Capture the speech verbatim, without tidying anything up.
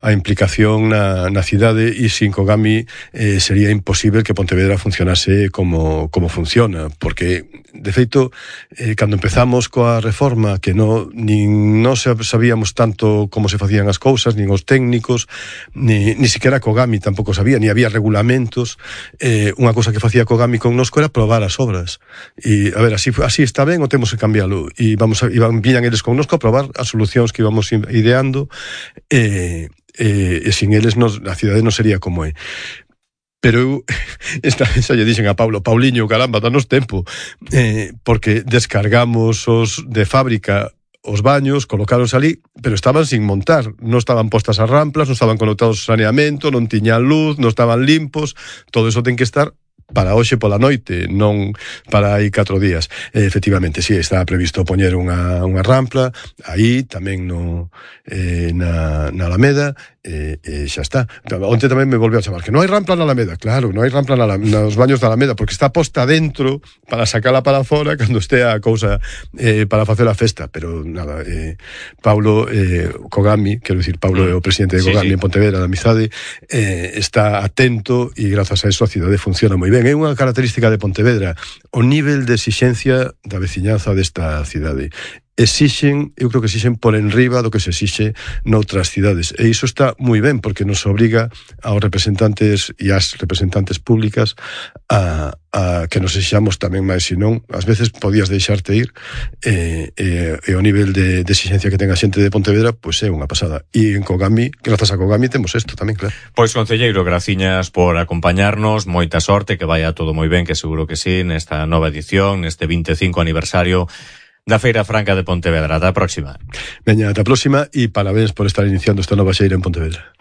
a implicación na, na cidade, e sin Kogami eh, sería imposible que Pontevedra funcionase como, como funciona, porque de feito eh, cando empezamos coa reforma, que no, nin non sabíamos tanto como se facían as cousas, nin os técnicos, ni, ni siquiera Kogami tampouco sabía, ni había regulamentos. Eh, unha cousa que facía Kogami connosco era probar as obras, e a ver, así, así está ben ou temos que cambiarlo, e vamos a, iban, viñan eles connosco a probar as solucións que íbamos ideando, e eh, E, e sin eles nos, a cidade non sería como é. Pero eu esta vez xa lle dixen a Paulo, Pauliño, caramba, danos tempo, eh, porque descargamos os de fábrica os baños, colocaros ali, pero estaban sin montar, non estaban postas as ramplas, non estaban conectados ao saneamento, non tiñan luz, non estaban limpos, todo eso ten que estar para hoxe pola noite, non para aí catro días. Eh, efectivamente, sí, estaba previsto poñer unha, unha rampla aí, tamén no, eh, na, na Alameda, e eh, eh, xa está. Onte tamén me volveu a chamar que non hai rampla na Alameda. Claro, non hai rampla na, nos baños da Alameda, porque está posta dentro para sacala para fora cando estea a cousa eh, para facer a festa. Pero nada, eh, Paulo eh, Kogami, quero dicir, Paulo é o presidente de Kogami, sí, sí, en Pontevedra, da Amizade, eh, está atento, e grazas a eso a cidade funciona moi ben. É unha característica de Pontevedra o nivel de exixencia da veciñanza desta cidade. Exixen, eu creo que exixen por enriba do que se exixe noutras cidades, e iso está moi ben, porque nos obriga aos representantes e ás representantes públicas a, a que nos exixamos tamén máis, senón ás veces podías deixarte ir, e, e, e o nivel de, de exigencia que ten a xente de Pontevedra pois é unha pasada, e en Kogami, grazas a Kogami temos isto tamén, claro. Pois, concelleiro, graciñas por acompañarnos, moita sorte, que vaya todo moi ben, que seguro que sí, nesta nova edición, neste vinte e cinco aniversario da Feira Franca de Pontevedra. Ata a próxima. Veña, ata a próxima, e parabéns por estar iniciando esta nova xeira en Pontevedra.